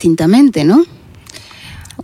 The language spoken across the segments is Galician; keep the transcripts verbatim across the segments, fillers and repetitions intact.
Cintamente, non?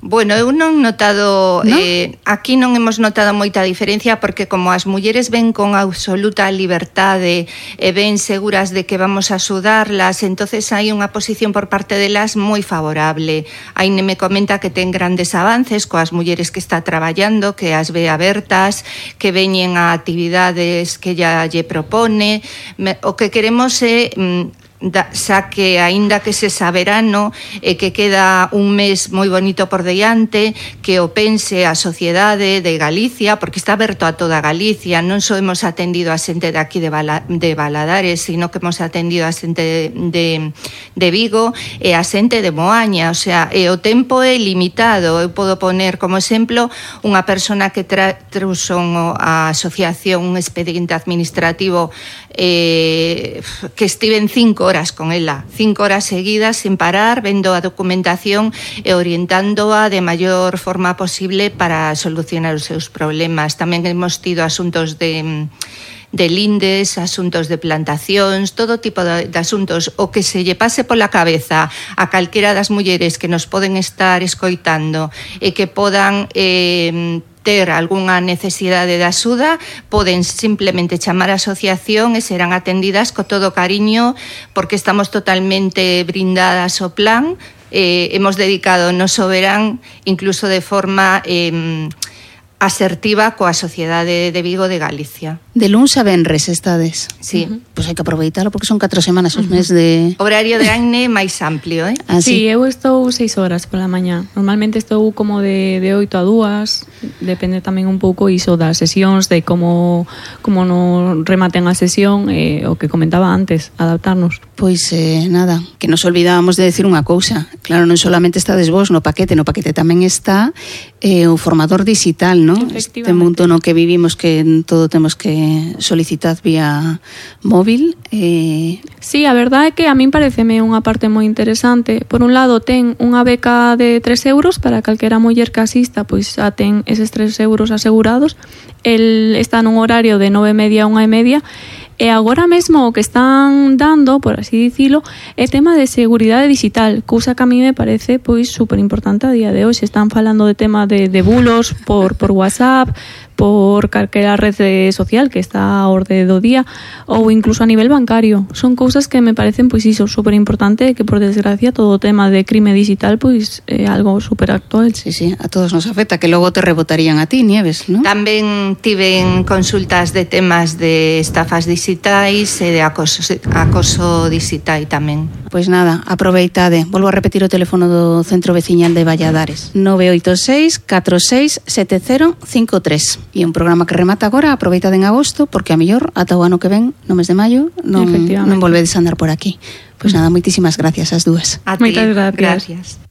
Bueno, eu non notado, ¿No? eh, aquí non hemos notado moita diferencia porque como as mulleres ven con absoluta liberdade e ven seguras de que vamos a axudarlas, entonces hai unha posición por parte delas moi favorable. Aine me comenta que ten grandes avances coas mulleres que está traballando, que as ve abertas, que veñen a actividades que ella lle propone. Me, o que queremos é... Mm, Da, xa que aínda que se saberano e que queda un mes moi bonito por diante, que o pense a sociedade de Galicia, porque está aberto a toda Galicia, non só hemos atendido a xente de aquí de, Bala, de Valadares, sino que hemos atendido a xente de, de, de Vigo e a xente de Moaña, o sea, e o tempo é limitado. Eu podo poner como exemplo unha persona que tra, trouxo a asociación un expediente administrativo eh, que estiven cinco horas con ela, cinco horas seguidas sin parar, vendo a documentación e orientándoa de maior forma posible para solucionar os seus problemas. Tamén hemos tido asuntos de de lindes, asuntos de plantacións, todo tipo de, de asuntos. O que se lle pase pola cabeza a calquera das mulleres que nos poden estar escoitando e que podan eh, ter algunha necesidade de axuda, poden simplemente chamar a asociación e serán atendidas co todo cariño, porque estamos totalmente brindadas ao plan. Eh, hemos dedicado o noso verán incluso de forma eh, asertiva coa sociedade de Vigo de Galicia. De luns a venres estades. Sí. Uh-huh. Pois hai que aproveitalo porque son catro semanas os uh-huh. mes de... Horario de Aine máis amplio, eh? Ah, sí. sí, eu estou seis horas pola mañá. Normalmente estou como de, de oito a dúas. Depende tamén un pouco iso das sesións, de como, como no rematen a sesión, eh, o que comentaba antes, adaptarnos. Pois eh, nada, que nos olvidábamos de decir unha cousa. Claro, non solamente estades vos no paquete, no paquete tamén está eh, o formador digital, non? Este mundo no que vivimos que todo temos que solicitar vía móvil. Eh... Sí, a verdade é que a min pareceme unha parte moi interesante. Por un lado, ten unha beca de tres euros para calquera muller que asista, pois xa ten eses tres euros asegurados. El está nun horario de nove e media a unha e media. E agora mesmo o que están dando, por así dicilo, é tema de seguridade digital, cousa que a mí me parece pois super importante a día de hoxe. Están falando de tema de, de bulos por, por WhatsApp, por calquera rede social que está a orde do día, ou incluso a nivel bancario. Son cousas que me parecen pois iso super importante, que por desgracia todo o tema de crime digital pois é algo super actual. Sí, sí, a todos nos afecta, que logo te rebotarían a ti, Nieves, non? Tamén tiven consultas de temas de estafas digitais e de acoso, acoso digital tamén. Pois nada, aproveitade. Volvo a repetir o teléfono do Centro Veciñal de Valladares. nove oito seis, catro seis, sete cero cinco tres. E un programa que remata agora, aproveitade en agosto, porque a mellor ata o ano que ven, no mes de maio, non, non volvedes a andar por aquí. Pois nada, moitísimas gracias ás dúas. A ti, moitas gracias. gracias.